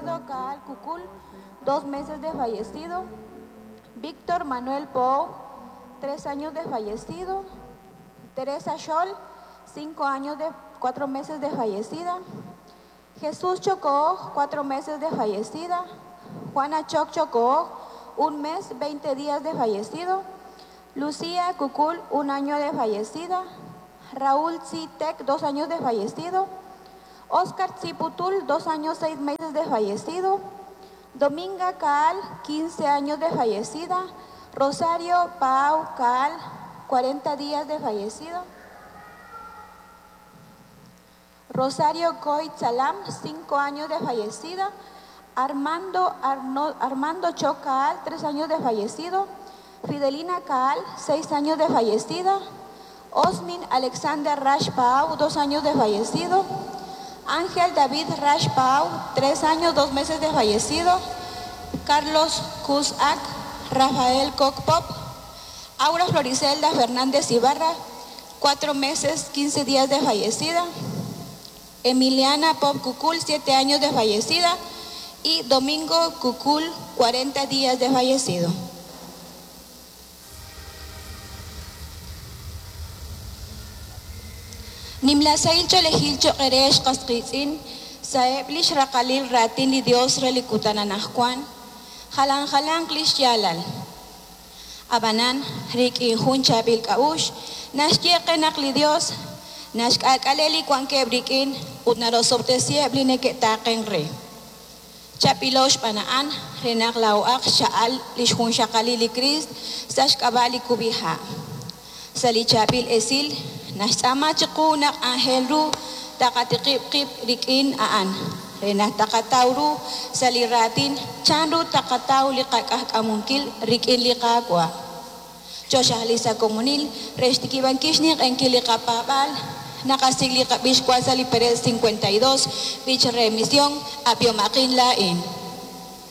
Ricardo Caal Cucul, 2 meses de fallecido. Víctor Manuel Pou, 3 años de fallecido. Teresa Scholl, 5 años de 4 meses de fallecida. Jesús Chocó, 4 meses de fallecida. Juana Choc Chocó, 1 mes, 20 días de fallecido. Lucía Cucul, 1 año de fallecida. Raúl Tzitek, 2 años de fallecido. Oscar Tziputul, 2 años, 6 meses de fallecido. Dominga Caal, 15 años de fallecida. Rosario Pau Caal, 40 días de fallecido. Rosario Coit Salam, 5 años de fallecida. Armando, Armando Choc Caal, 3 años de fallecido. Fidelina Caal, 6 años de fallecida. Osmin Alexander Rash Pau, 2 años de fallecido. Ángel David Rash Pau, 3 años, 2 meses de fallecido. Carlos Cusac, Rafael Pop, Aura Floricelda Fernández Ibarra, 4 meses, 15 días de fallecida. Emiliana Pop Cucul, 7 años de fallecida. Y Domingo Cucul, 40 días de fallecido. Nimla sahil ch'oolejil choq' eere ex qas qiitz'in sa'eb' lix raqalil raatin li Dios re li kutan anajwan, jalan jalanq lix yaalal. A'b'anan, rik'in jun chaab'il k'a'uxl, naxye qe naq li Dios naxk'aak'ale li wankeb' rik'in ut narosob'tesiheb' li neke'taaqenk re. Chaab'ilo xb'aan a'an re naq laa'o'aq xcha'al lix junxaqalil li Kriist sa' xk'ab'a' li kub'iha'. Sa' li chaab'il esil, naxtz'aama chiqu naq aajel ru taqatiqib' qib' rik'in a'an, re naq taqataw ru sa' li raatin chan ru taqataw li qaq'ajk'amunkil rik'in li Qaawa'. Chooxaqli sa' komonil re xtikib'ankil xninq'ehinkil li qapaab'aal, naqasik' li qab'ix wan sa' li perel 52, B'ich re Mision, Ab'ihomaqin laa'in.